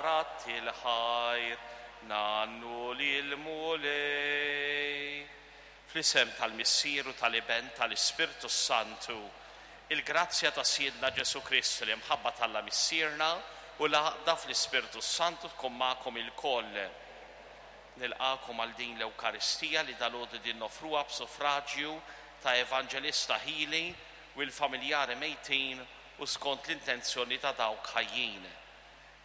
radd il-ħajr, ngħannu lill-Mulej. Fl-isem tal-Missier u tal-Iben tal-Ispirtu s-Santu, il-grazzja ta' Sidna Ġesù Kristu, l-imħabba t'Alla Missierna u l-għaqda fl-Ispirtu s-Santu tkun magħkom ilkoll. Nilqagħkom għal din l-Ewkaristija li dalgħodu din noffruha b'suffraġju ta' Evanġelista Hili u l-familjari mejtin u skont l-intenzjoni ta' dawk ħajjin.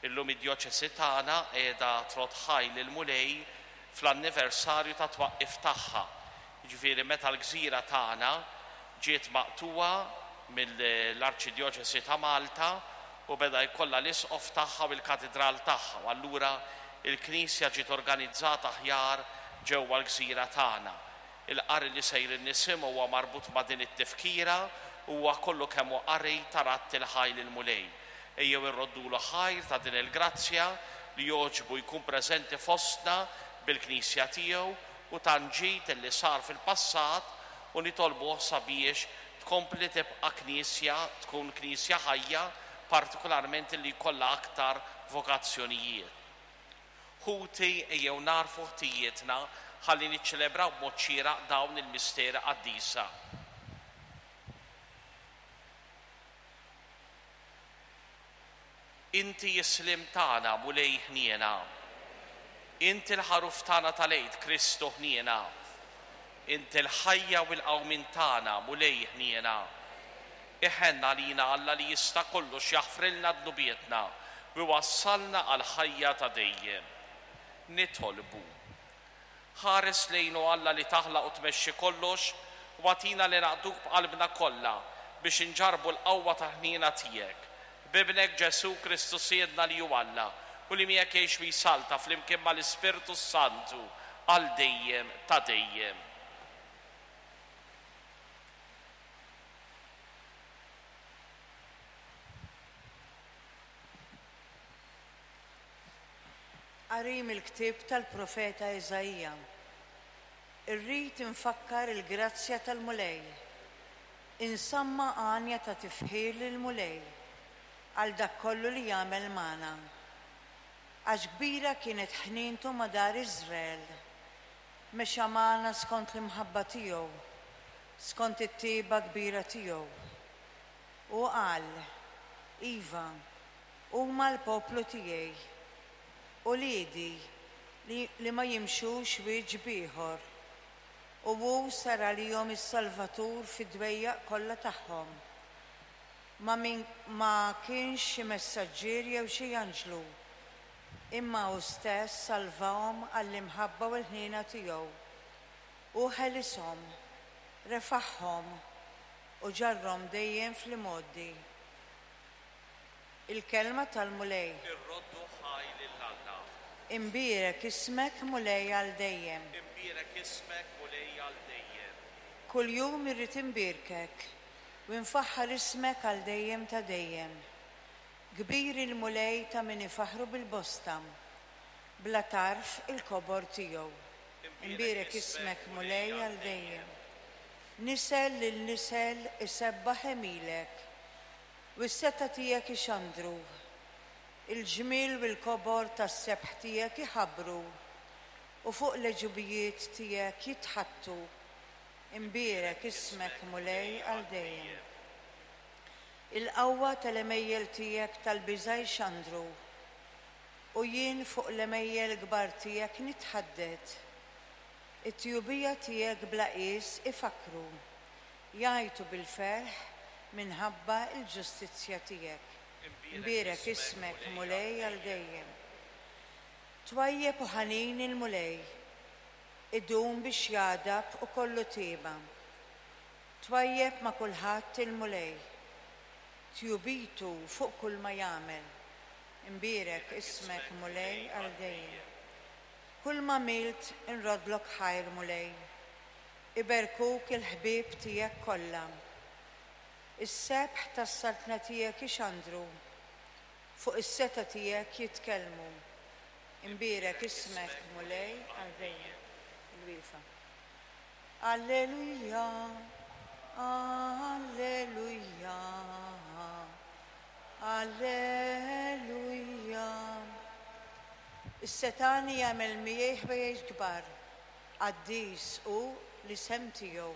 Illum id-djoċesi tagħna qiegħda trodd ħaj lill-Mulej fl-anniversarju tat-twaqqif tagħha, jiġifieri meta l-gżira tagħna ġiet maqtugħa mill-Arċidjoċesi ta' Malta u beda jkollha l-isqof tagħha u l-katidral tagħha u allura l-Knisja ġiet organizzata aħjar ġewwa l-gżira tagħna. Il-qari li sejrin nisimgħu huwa marbut ma' din it-tifkira u huwa kollu kemm hu qari ta' radd il-ħaj lill-Mulej. Ejjew irroddulu ħajr ta' din il-grazzja li jogħġbu jkun preżenti fostna bil-Knisja tiegħu u tant ġid li sar fil-passat u nitolbuh sabiex tkompli tibqa' Knisja, tkun Knisja ħajja, partikularment li jkollha aktar vokazzjonijiet. Ħuti, ejjew nagħrfu ħtijietna ħalli niċċelebraw b'mod xieraq dawn il-misteri qaddisa. Inti s-sliem tagħna, Mulej ħniena. Inti l-ħaruf tagħna tal-Għid, Kristu ħniena. Inti l-ħajja u l-qawmien tagħna, Mulej ħniena. Iħenn għalina Alla li jista' kollox jaħfrilna dnubietna u jwassalna għall-ħajja ta' dejjem. Nitolbu. Ħares lejn, o Alla li taħlaq u tmexxi kollox, u agħtina li naqduk b'qalbna kollha biex inġarrbu l-qawwa tal-ħniena tiegħek. B'Ibnek Ġesù Kristu Sidna li hu Alla u li miegħek jgħix u jsalta flimkien mal-Ispirtu s-Santu għal dejjem ta' dejjem. Qari mill-ktieb tal-profeta Iżaija. Irrid infakkar il-grazzja tal-Mulej. Insamma' għanja ta' tifħir lill-Mulej għal dak kollu li għamel magħna. Għax kbira kienet ħnientu ma' dar Iżrael. Mexa magħna skont l-imħabba tiegħu, skont it-tjieba kbira tiegħu. Hu qal, Iva, huma l-poplu tiegħi, uliedi li, li ma jimxux wiċċ b'ieħor. U hu sar għalihom is-Salvatur fid-dwejjaq kollha tagħhom. Ma min, ma kienx xi messaġġier jew xi anġlu, imma hu stess salvahom għall-imħabba u l-ħniena tiegħu. Hu ħelishom, refagħhom, u ġarrhom dejjem fl-imgħoddi. Il-kelma tal-Mulej. Irroddu ħaj lil Alla. Imbierek ismek, Mulej, għal dejjem. Imbierek ismek, Mulej, għal dejjem. Kuljum irrid imbierkek, u nfaħħar ismek għal dejjem ta' dejjem. Kbir il-Mulej ta' min ifaħħru bil-bosta, bla tarf il-kobor tiegħu. Imbierek ismek, Mulej, għal dejjem. Nisel lil nisel isebbaħ għemilek, U s-setgħa tiegħek ixandru. Il-ġmiel u l-kobor tas-sebħ tiegħek iħabbru, u fuq l-għeġubijiet tiegħek jitħaddtu. Imbierek ismek, Mulej, għal dejjem. Il-qawwa tal-għemejjel tiegħek tal-biża' jxandru, u jien fuq l-għemejjel kbar tiegħek nitħaddet. It-tjubija tiegħek bla qies ifakkru. Jgħajtu bil-ferħ minħabba l-ġustizzja tiegħek. Imbierek ismek, Mulej, għal dejjem. Twajjeb u ħanin il-Mulej, idum biex jagħdab u kollu tieba. Twajjeb ma' kulħadd il-Mulej, tjubitu fuq kulma jagħmel. Imbierek ismek, Mulej, għal dejjem. Kulma għamilt inroddlok ħajr, Mulej. Iberkuk il-ħbieb tiegħek kollha. Is-sebħ tas-saltna tiegħek ixandru, fuq is-setgħa tiegħek jitkellmu. Imbierek ismek, Mulej, għal dejjem. Il-wieqfa. Alleluja, alleluja, alleluja. Is-setgħani jagħmel miegħi ħwejjeġ kbar. Qaddis hu l-isem tiegħu.